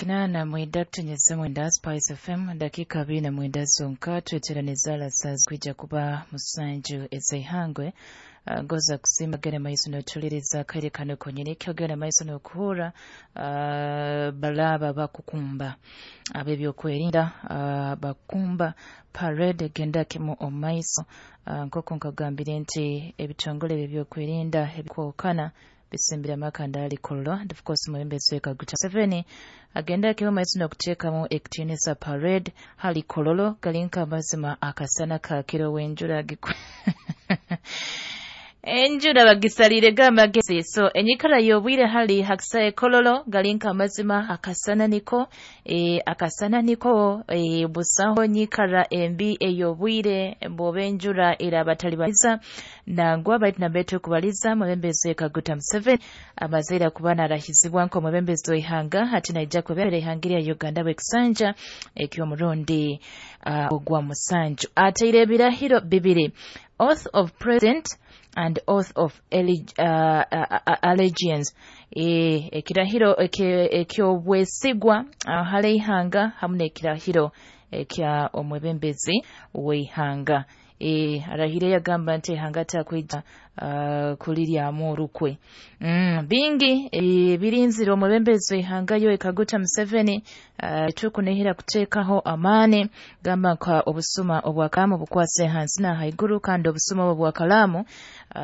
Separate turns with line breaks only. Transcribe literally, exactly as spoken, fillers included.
Kinana mwenda kutenyeza mwenda Spice F M dakika abiri na mwenda zonka tweteraniza lasazi kwija kuba musanju ezeihangwe. Uh, ngoza kusimba gere maiso notuliriza kaire kano konyene kyogera maiso nokuhura uh, balaba bakukumba ab'ebyokwerinda uh, bakumba parade genda kimu omaiso uh, nk'oku nkagambire nti ebitongole by'ebyokwerinda ebikwokana bisimbira amakanda ali Kololo. And of course mwebembezi Kaguta Museveni agenda kimu maiso nokuteekamu ekitiinisa parade hali Kololo galinka amazima akasana kakiro w'enjura gikwe enjura bagisalire gamagezi. So enyikara y'obwire hali hakisae Kololo galinka amazima akasana niko e, akasana niko e, busaho nyikara embi ey'obwire bw'oba enjura erabatalibaniza nangwa baitu nambetu kubaliza mwebembezi Kaguta Museveni amazeera kuba narahizibwa nk'omwebembezi w'ihanga hati naija kwebembera ihanga lya Uganda bw'ekisanja eky'omurundi uh, ogwa musanju. Ateire ebirahiro bibiri, oath of president and oath of uh, uh, allegiance, e ekirahiro eky'obwesigwa uh, hali ihanga hamu n'ekirahiro ekya omwebembezi w'ihanga. E arahire yagamba nti ihanga takwija uh, kuliryamu orukwe. mm, bingi e, birinzire omwebembezi w'ihanga yo Kaguta Museveni uh, tukunihira kuteekaho amaani gamba nka obusuma obwakalamu bukwase hansi na haiguru kandi obusuma obwakalamu uh,